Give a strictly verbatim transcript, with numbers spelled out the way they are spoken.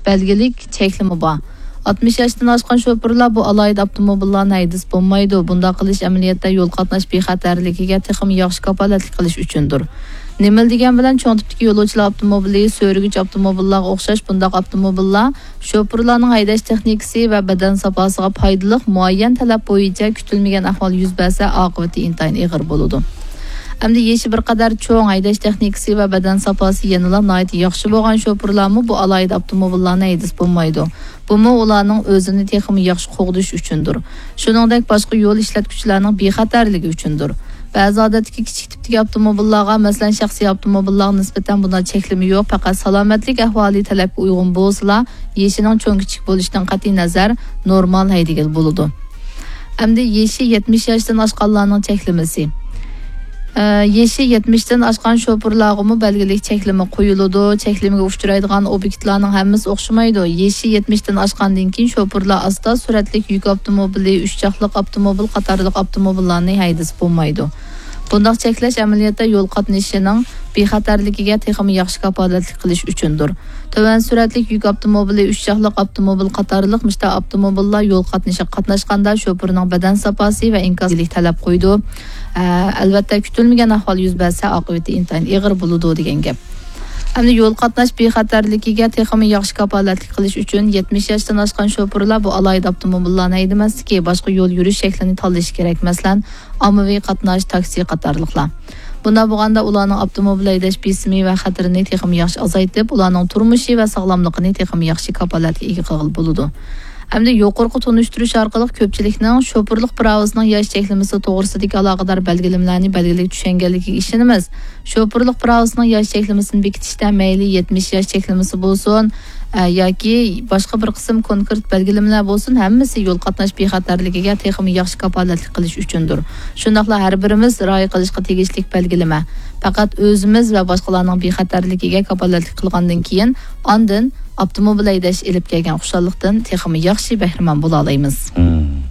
بەلگىلىك چەكلىمە بار. ئاتمىش ياشتىن ئاشقان شوپۇرلار بۇ ئالاھىدە ئاپتوموبىللارنى ھەيدىسە بولمايدۇ. بۇنداق قىلىش ئەمەلىيەتتە يول قاتناش بىخەتەرلىكىگە تېخىمۇ ياخشى كاپالەتلىك قىلىش ئۈچۈندۇر. نېمىلا دېگەن بىلەن چوڭ تىپتىكى يولۇچىلار ئاپتوموبىلى، سۆرىگۈچ ئاپتوموبىللارغا ئوخشاش بۇنداق ئاپتوموبىللار شوپۇرلارنىڭ ھەيدەش تېخنىكىسى ۋە بەدەن ساپاسىغا پايدىلىق مۇئەييەن تەلەپ بويىچە كۈتۈلمىگەن ئەھۋال يۈز بەرسە، ئاقىۋىتى ئىنتايىن ئېغىر بولىدۇ. ئەمدى يېشى بىر قەدەر چوڭ، ھەيدەش تېخنىكىسى ۋە بەدەن ساپاسى يەنىلا ناھايىتى ياخشى بولغان شوپۇرلارمۇ بۇ ئالاھىدە ئاپتوموبىللارنى ھەيدىسە بولمايدۇ. بۇمۇ ئۇلارنىڭ ئۆزىنى تېخىمۇ ياخشى قوغدىشى ئۈچۈندۇر. شۇنىڭدەك باشقا يول ئىشلەتكۈچىلەرنىڭ بىخەتەرلىكى ئۈچۈندۇر. بەزى ئادەتتىكى كىچىك تىپتىكى ئاپتوموبىللارغا، مەسىلەن، شەخسىي ئاپتوموبىللارغا نىسبەتەن بۇنداق چەكلىمە يوق، پەقەت سالامەتلىك ئەھۋالى تەلەپكە ئۇيغۇن بولسىلا، يېشىنىڭ چوڭ-كىچىك بولۇشىدىن قەتئىينەزەر، نورمال ھەيدىگىلى بولىدۇ. ئەمدى يېشى يەتمىش ياشتىن ئاشقانلارنىڭ چەكلىمىسى. ئە، يېشى يەتمىشتىن ئاشقان شوپۇرلارغىمۇ بەلگىلىك چەكلىمە قويۇلىدۇ. چەكلىمىگە ئۇچرايدىغان ئوبيېكتلارنىڭ ھەممىسى ئوخشىمايدۇ. يېشى يەتمىشتىن ئاشقاندىن كېيىن شوپۇرلار ئاستا سۈرئەتلىك يۈك ئاپتوموبىلى، ئۈچ چاقلىق ئاپتوموبىل قاتارلىق ئاپتوموبىللارنى ھەيدىسە بولمايدۇ. بۇنداق چەكلەش ئەمەلىيەتتە يول قاتنىشىنىڭ بىخەتەرلىكىگە تېخىمۇ ياخشى كاپالەتلىك قىلىش ئۈچۈندۇر. تۆۋەن سۈرئەتلىك يۈك ئاپتوموبىلى، ئۈچ چاقلىق ئاپتوموبىل قاتارلىق مۇشۇنداق ئاپتوموبىللار يول قاتنىشىغا قاتناشقاندا شوپۇرنىڭ بەدەن ساپاسى ۋە ئىنكاسلىق تەلەپ قويىدۇ. ئە، ئەلۋەتتە، كۈتۈلمىگەن ئەھۋال يۈز بەرسە، ئاقىۋىتى ئىنتايىن ئېغىر بولىدۇ دېگەن گەپ. ئەمدى يول قاتناش بىخەتەرلىكىگە تېخىمۇ ياخشى كاپالەتلىك قىلىش ئۈچۈن يەتمىش ياشتىن ئاشقان شوپۇرلار بۇ ئالاھىدە ئاپتوموبىللارنى ھەيدىمەسلىكى، باشقا يول يۈرۈش شەكلىنى تاللىشى كېرەك. مەسىلەن، ئاممىۋى قاتناش، تاكسى قاتارلىقلار. بۇنداق بولغاندا ئۇلارنىڭ ئاپتوموبىل ھەيدەش بېسىمى ۋە خەتىرىنى تېخىمۇ ياخشى ئازايتىپ، ئۇلارنىڭ تۇرمۇشى ۋە ساغلاملىقىنى تېخىمۇ ياخشى كاپالەتكە ئىگە قىلغىلى بولىدۇ. ئەمدى يۇقىرىقى تونۇشتۇرۇش ئارقىلىق كۆپچىلىكنىڭ شوپۇرلۇق پىراۋىسىنىڭ ياش چەكلىمىسى توغرىسىدىكى ئالاقىدار بەلگىلىمىلەرنى بەلگىلىك چۈشەنگەنلىكىگە ئىشىنىمىز. شوپۇرلۇق پىراۋىسىنىڭ ياش چەكلىمىسىنى بېكىتىشتە مەيلى يەتمىش ياش چەكلىمىسى بولسۇن، ئە، ياكى باشقا بىر قىسىم كونكرېت بەلگىلىمىلەر بولسۇن، ھەممىسى يول قاتناش بىخەتەرلىكىگە تېخىمۇ ياخشى كاپالەتلىك قىلىش ئۈچۈندۇر. شۇنداقلا ھەر بىرىمىز رىئايە قىلىشقا تېگىشلىك بەلگىلىمە، پەقەت ئۆزىمىز ۋە باشقىلارنىڭ بىخەتەرلىكىگە كاپالەتلىك قىلغاندىن كېيىن، ئاندىن ئاپتوموبىل ھەيدەش ئېلىپ كەلگەن خۇشاللىقتىن تېخىمۇ ياخشى بەھرىمەن بولالايمىز.